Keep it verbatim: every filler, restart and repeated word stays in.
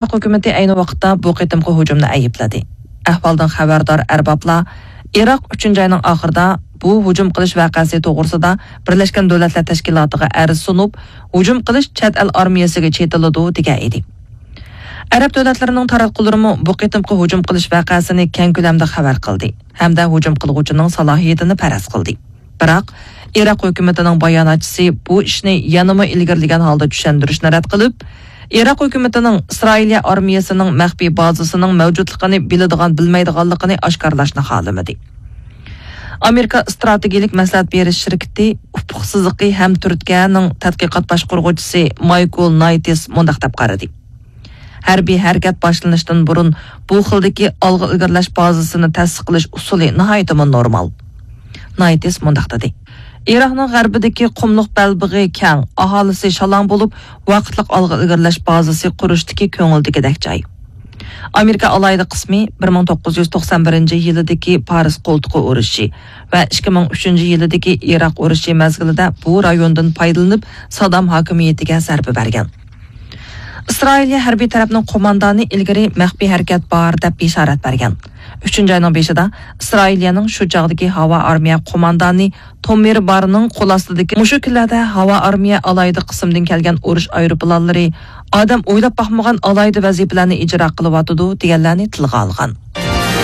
ئىراق ھۆكۈمىتى ئەينى ۋاقىتتا بۇ قېتىمقى ھۇجۇمنى ئەيىبلىدى. ئەھۋالدىن خەۋەردار ئەربابلار ئىراق ئۈچىنچى ئاينىڭ ئاخىرىدا بۇ ھۇجۇم قىلىش ۋەقەسى توغرىسىدا بىرلەشكەن دۆلەتلەر تەشكىلاتىغا ئەرز سۇنۇپ، ھۇجۇم قىلىش چەت ئەل ئارمىيەسىگە چېتىلىدۇ، دېگەن ئىدى. ئەرەب دۆلەتلىرىنىڭ تاراتقۇلىرىمۇ بۇ قېتىمقى ھۇجۇم قىلىش ۋەقەسىنى كەڭ كۆلەمدە خەۋەر قىلدى ھەمدە ھۇجۇم قىلغۇچىنىڭ سالاھىيىتىنى پەرەز قىلدى. بىراق، ئىراق ھۆكۈمىتىنىڭ باياناتچىسى بۇ ئىشنى يەنىمۇ ئىلگىرىلىگەن ھالدا چۈشەندۈرۈشنى رەت قىلىپ، ئىراق ھۆكۈمىتىنىڭ ئىسرائىلىيە ئارمىيەسىنىڭ مەخپىي بازىسىنىڭ مەۋجۇتلۇقىنى بىلىدىغان، بىلمەيدىغانلىقىنى ئاشكارىلاشنى خالىمىدى. ئامېرىكا ئىستراتېگىيىلىك مەسلىھەت بېرىش شىركىتى ئۇپۇق سىزىقى ھەم تۈرتكەنىڭ تەتقىقات باشقۇرغۇچىسى مايكل نايتىس مۇنداق دەپ قارىدى: ھەربىي ھەرىكەت باشلىنىشتىن بۇرۇن بۇ خىلدىكى ئالغا ئىلگىرىلەش بازىسىنى تەسىس قىلىش ئۇسۇلى ناھايىتىمۇ نورمال. نايتىس مۇنداق دېدى: ئىراقنىڭ غەربىدىكى قۇملۇق بەلبېغى كەڭ، ئاھالىسى شالاڭ بولۇپ، ۋاقىتلىق ئالغا ئىلگىرىلەش بازىسى قۇرۇشتىكى كۆڭۈلدىكىدەك جاي. ئامېرىكا ئالاھىدە قىسمى بىر مىڭ توققۇز يۈز توقسان بىرىنچى يىلىدىكى پارس قولتۇقى ئۇرۇشى ۋە ئىككى مىڭ ئۈچىنچى يىلىدىكى ئىراق ئۇرۇشى مەزگىلىدە بۇ رايوندىن پايدىلىنىپ، سادام ھاكىمىيىتىگە زەربە بەرگەن. ئىسرائىلىيە ھەربىي تەرەپنىڭ قوماندانى ئىلگىرى مەخپىي ھەرىكەت بار دەپ بېشارەت بەرگەن. ئۈچىنچى ئاينىڭ بېشىدا ئىسرائىلىيەنىڭ شۇ چاغدىكى ھاۋا ئارمىيە قوماندانى تومىر بارنىڭ قول ئاستىدىكى مۇشۇ كۈنلەردە ھاۋا ئارمىيە ئالاھىدە قىسىمدىن كەلگەن ئۇرۇش ئايروپىلانلىرى ئادەم ئويلاپ باقمىغان ئالاھىدە ۋەزىپىلەرنى ئىجرا قىلىۋاتىدۇ، دېگەنلەرنى تىلغا ئالغان.